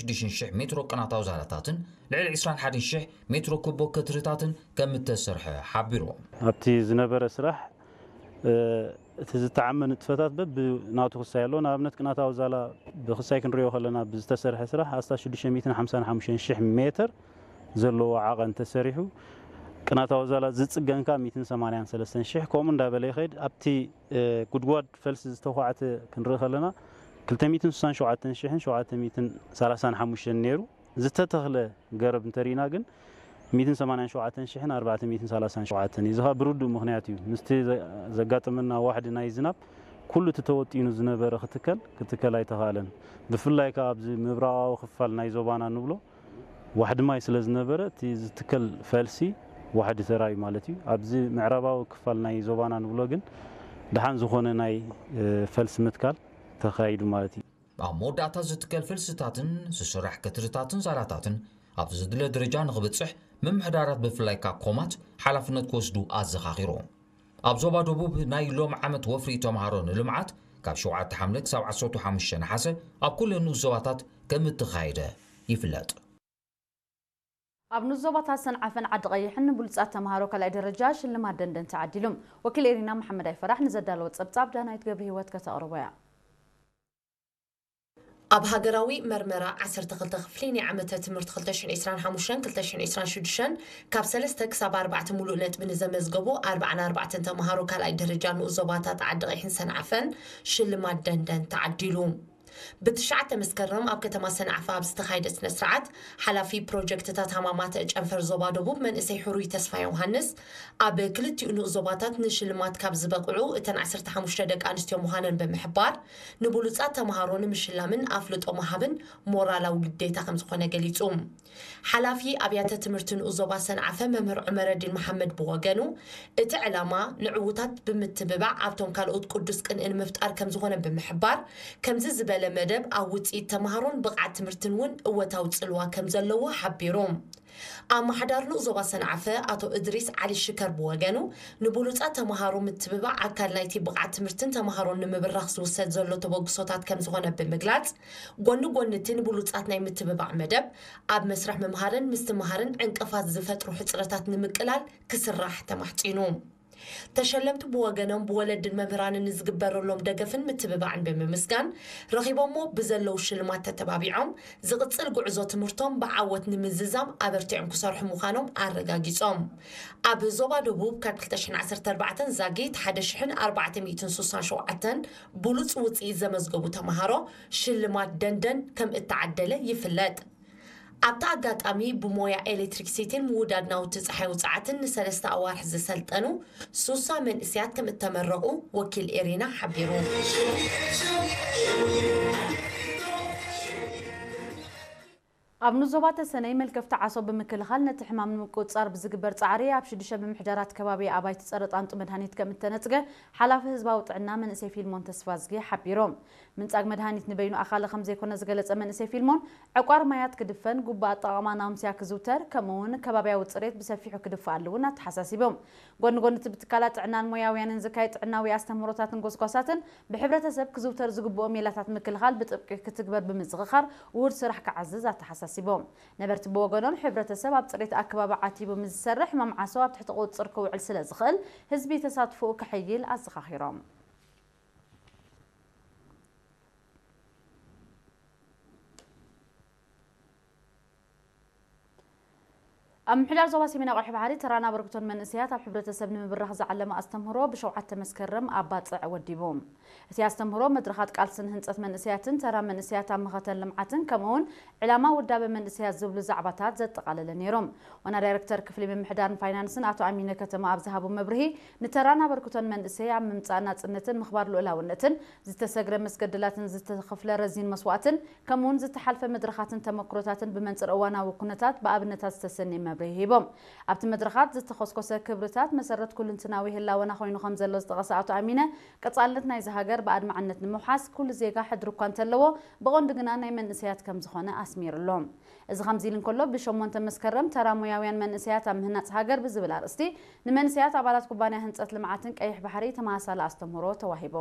ሽዱሽተ ሽሕ ሜትሮ ቅናታዊ ዛላታትን ልዕሊ ዕስራን ሓደን ሽሕ ሜትሮ ኩቦ ከትርታትን ከም እተሰርሐ ሓቢሩ። ኣብቲ ዝነበረ ስራሕ እቲ ዝተዓመ ንጥፈታት በብናቱ ክሳይ ኣሎ። ንኣብነት ቅናታዊ ዛላ ብክሳይ ክንሪኦ ከለና ብዝተሰርሐ ስራሕ ኣስታት ሽዱሽተ ሚእትን ሓምሳን ሓሙሽተን ሽሕ ሜትር ዘለዎ ዓቐን ተሰሪሑ። ቅናታዊ ዛላ ዝፅገን ከዓ ሚእትን ሰማንያን ሰለስተን ሽሕ ከምኡ እንዳበለ ይኸይድ። ኣብቲ ጉድጓድ ፈልሲ ዝተኳዕተ ክንርኢ ከለና ክልተ ሚእትን ስሳን ሸውዓተን ሽሕን ሸውዓተ ሚእትን ሰላሳን ሓሙሽተን ነይሩ። ዝተተኽለ ገረብ እንተሪእና ግን ሚእትን ሰማንያን ሸውዓተን ሽሕን ኣርባዕተ ሚእትን ሰላሳን ሸውዓተን እዩ። እዚ ከዓ ብርዱእ ምኽንያት እዩ። ምስቲ ዘጋጠመና ዋሕዲ ናይ ዝናብ ኩሉ እቲ ተወጢኑ ዝነበረ ክትከል ክትከል ኣይተኻእለን። ብፍላይ ከዓ ኣብዚ ምብራቓዊ ክፋል ናይ ዞባና ንብሎ ዋሕዲ ማይ ስለ ዝነበረ እቲ ዝትከል ፈልሲ ዋሕዲ ተራዩ ማለት እዩ። ኣብዚ ምዕራባዊ ክፋል ናይ ዞባና ንብሎ ግን ደሓን ዝኾነ ናይ ፈልሲ ምትካል ተኻይዱ ማለት እዩ። ኣብ መወዳእታ ዝትከል ፈልስታትን ዝስራሕ ከትርታትን ዛላታትን ኣብ ዝድለ ደረጃ ንኽበፅሕ ምምሕዳራት ብፍላይ ካኮማት ሓላፍነት ክወስዱ ኣዘኻኺሩ። ኣብ ዞባ ደቡብ ናይ ሎም ዓመት ወፍሪ ተምሃሮ ንልምዓት ካብ ሸውዓተ ሓምለ ክሳብ ዓሰርተ ሓሙሽተ ነሓሰ ኣብ ኩለን ንኡስ ዞባታት ከም እተኻየደ ይፍለጥ። ኣብ ንኡስ ዞባታት ሰንዓፈን ዓዲ ቀይሕን ንብሉጻት ተምሃሮ ካልኣይ ደረጃ ሽልማት ደንደን ተዓዲሉ። ወኪል ኤሪና መሓመድ ኣይፈራሕ ንዘዳለወ ጸብጻብ ዳናይት ገብረ ህይወት ከተቕርቦ እያ። ኣብ ሃገራዊ መርመራ ዓሰርተ ክልተ ክፍሊ ናይ ዓመተ ትምህርቲ ክልተ ሽሕን ዕስራን ሓሙሽተን ክልተ ሽሕን ዕስራን ሽዱሽተን ካብ ሰለስተ ክሳብ ኣርባዕተ ሙሉእ ነጥቢ ንዘመዝገቡ ኣርባዓን ኣርባዕተን ተምሃሮ ካልኣይ ደረጃ ንኡስ ዞባታት ዓዲ ቀይሕን ሰንዓፈን ሽልማት ደንደን ተዓዲሉ። ብትሽዓተ መስከረም ኣብ ከተማ ሰንዓፈ ኣብ ዝተኻየደ ስነ ስርዓት ሓላፊ ፕሮጀክትታት ሃማማተ ጨንፈር ዞባ ደቡብ መንእሰይ ሕሩይ ተስፋ ዮሃንስ ኣብ ክልቲኡ ንኡስ ዞባታት ንሽልማት ካብ ዝበቕዑ እተን ዓሰርተ ሓሙሽተ ደቂ ኣንስትዮ ምዃነን ብምሕባር ንብሉጻት ተምሃሮ ንምሽላምን ኣፍልጦ ምሃብን ሞራላዊ ግዴታ ከምዝኾነ ገሊጹ። ሓላፊ ኣብያተ ትምህርቲ ንኡስ ዞባ ሰንዓፈ መምህር ዑመረዲን መሓመድ ብወገኑ እቲ ዕላማ ንዕዉታት ብምትብባዕ ኣብቶም ካልኦት ቅዱስ ቅንኢ ንምፍጣር ከምዝኾነ ብምሕባር ከምዚ ዝበለ መደብ ኣብ ውፅኢት ተምሃሮን ብቕዓት ትምህርትን እውን እወታዊ ፅልዋ ከምዘለዎ ሓቢሩ። ኣመሓዳሪ ንኡስ ዞባ ሰንዓፈ ኣቶ እድሪስ ዓሊ ሽከር ብወገኑ ንብሉፃት ተምሃሮ ምትብባዕ ኣካል ናይቲ ብቕዓት ትምህርትን ተምሃሮን ንምብራኽ ዝውሰድ ዘሎ ተበግሶታት ከምዝኾነ ብምግላፅ ጎኒ ጎኒ እቲ ንብሉፃት ናይ ምትብባዕ መደብ ኣብ መስርሕ ምምሃርን ምስትምሃርን ዕንቅፋት ዝፈጥሩ ሕፅረታት ንምቅላል ክስራሕ ተማሕፂኑ። ተሸለምቲ ብወገኖም ብወለድን መምህራንን ንዝግበረሎም ደገፍን ምትብባዕን ብምምስጋን ረኺቦሞ ብዘለዉ ሽልማት ተተባቢዖም ዝቕፅል ጉዕዞ ትምህርቶም ብዓወት ንምዝዛም ኣበርቲዖም ክሰርሑ ምዃኖም ኣረጋጊፆም። ኣብ ዞባ ደቡብ ካብ ክልተ ሽሕን ዓሰርተ ኣርባዕተን ዛጊት ሓደ ሽሕን ኣርባዕተ ሚእትን ስሳን ሸውዓተን ብሉፅ ውፅኢት ዘመዝገቡ ተምሃሮ ሽልማት ደንደን ከም እተዓደለ ይፍለጥ። ኣብቲ ኣጋጣሚ ብሞያ ኤሌክትሪክሲቲን ምውዳድ ናውቲ ፀሓይ ውፅዓትን ንሰለስተ ኣዋርሕ ዝሰልጠኑ ሱሳ መንእስያት ከም እተመረቑ ወኪል ኤሪና ሓቢሩ። ኣብ ንዞባ ተሰነይ መልከፍቲ ዓሶ ብምክልኻል ነቲ ሕማም ንምቁፅፃር ብዝግበር ፃዕሪ ኣብ ሽዱሽተ ምምሕዳራት ከባቢ ኣባይቲ ፀረ ጣንጡ መድሃኒት ከም እተነፅገ ሓላፊ ህዝባዊ ጥዕና መንእሰይ ፊልሞን ተስፋዝጊ ሓቢሮም። ምንጻግ መድሃኒት ንበይኑ ኣኻሊ ከም ዘይኮነ ዝገለጸ መንእሰይ ፊልሞን፣ ዕቋር ማያት ክድፈን፣ ግቡእ ኣጠቓቕማ ናውምስያ ክዝውተር፣ ከምኡ እውን ከባብያዊ ጽሬት ብሰፊሑ ክድፋኣሉ እውን ኣተሓሳሲቦም። ጎኒ ጎኒ እቲ ብትካላት ጥዕናን ሞያውያንን ዝካየድ ጥዕናዊ ኣስተምህሮታትን ጎስጓሳትን ብሕብረተሰብ ክዝውተር ዝግብኦ ሜላታት ምክልኻል ብጥብቂ ክትግበር ብምዝኽኻር ውሁድ ስራሕ ክዓዝዝ ኣተሓሳሲቦም። ነበርቲ ብወገኖም ሕብረተሰብ ኣብ ጽሬት ኣከባቢ ዓቲቡ ምስ ዝሰርሕ ሕማም ዓሶ ኣብ ትሕቲ ቁጽጽር ክውዕል ስለ ዝኽእል ህዝቢ ተሳትፎኡ ከሐይል ኣዘኻኺሮም። ኣብ ምሕዳር ዞባ ሰሜናዊ ቀይሕ ባሕሪ ተራን ኣበርክቶን መንእሰያት ኣብ ሕብረተሰብ ንምብራኽ ዝዓለመ ኣስተምህሮ ብሸውዓተ መስከረም ኣብ ባጽዕ ወዲቡ። እቲ ኣስተምህሮ መድረኻት ቃልስን ህንጸት መንእሰያትን ተራ መንእሰያት ኣብ መኸተን ልምዓትን ከምኡውን ዕላማ ውዳበ መንእሰያት ዝብሉ ዛዕባታት ዘጠቓለለ ነይሩ። ዋና ዳይረክተር ክፍሊ ምምሕዳርን ፋይናንስን ኣቶ ኣሚነ ከተማ ኣብ ዝሃቦ መብርሂ፣ ንተራን ኣበርክቶን መንእሰይ ኣብ ምምጻእ ናጽነትን ምኽባር ልኡላውነትን ዝተሰግረ መስገድላትን ዝተኸፍለ ረዚን መስዋእትን ከምኡውን ዝተሓልፈ መድረኻትን ተመክሮታትን ብመንጽር እዋናዊ ኩነታት ብኣብነታት ዝተሰነየ መብርሂ ሂቦም። ኣብቲ መድረኻት ዝተኾስኮሰ ክብርታት መሰረት ኩልንትናዊ ህላወና ኮይኑ ከም ዘሎ ዝጠቐሰ ኣቶ ኣሚነ፣ ቀጻልነት ናይዚ ሃገር ብኣድማዕነት ንምውሓስ ኩሉ ዜጋ ሕድሪ እኳ እንተለዎ፣ ብቐንዱ ግና ናይ መንእሰያት ከም ዝኾነ ኣስሚሩሎም። እዚ ከምዚ ኢሉ እንከሎ፣ ብሸሞንተ መስከረም ተራ ሞያውያን መንእሰያት ኣብ ምህናጽ ሃገር ብዝብል ኣርእስቲ ንመንእሰያት ኣባላት ኩባንያ ህንጸት ልምዓትን ቀይሕ ባሕሪ ተመሳሳሊ ኣስተምህሮ ተዋሂቡ።